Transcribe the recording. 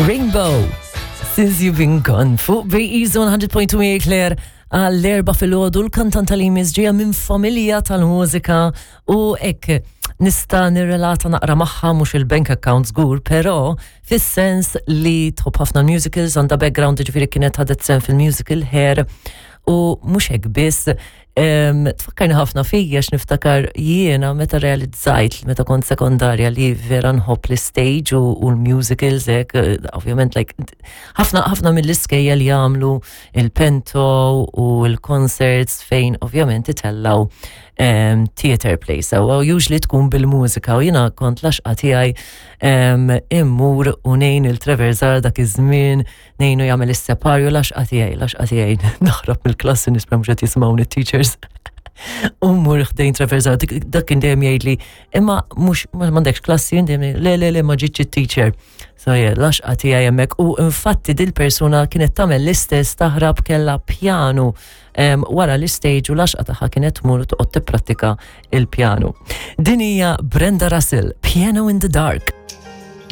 Rainbow, Since You've Been Gone, fuq BE Zone 100.2 Claire għall-erba fil-ħodu l-kantanta li jmiss ġejja minn familja tal-mużika u hekk nista' nirrelata naqra magħha mhux il-bank account żgur, però fis-sens li tħobb ħafna musicals, għandha background ġifieri kienet ħadet sen fil-musical hair u mhux hekk biss Tfakkarni ħafna fija x'niftakar jiena meta realizzajt meta kont sekondarja li vera nħobb l-stage u l-musicals hekk, eh, ovvjament like ħafna ħafna mill-iskejja li jagħmlu il-pento u l-concerts fejn ovvjament itellaw theater play. So usually tkun bil-mużika u jiena kont laxqa tiegħi immur u nejn il-Trevor Zar dak iż-żmien Nejnu jagħmel is-separju l-għaxqa tiegħi, l-għaxqa tiegħi naħrab mill-klassi nispera mhux qed jisimgħuni t-teachers. U mmur ħdejn Trevor Zara, dak kien dejjem jgħidli, imma mhux m'għandekx klassi, dejjem le le le ma ġietx it-teacher. So yeah, l-għaxqa tiegħi hemmhekk u infatti dil-persuna kienet tagħmel l-istess taħrab kellha pjanu wara l-istage u l-għaxqa tagħha kienet tmur u toqgħod tipprattika il-pjanu. Din hija Brenda Russell, Piano in the Dark.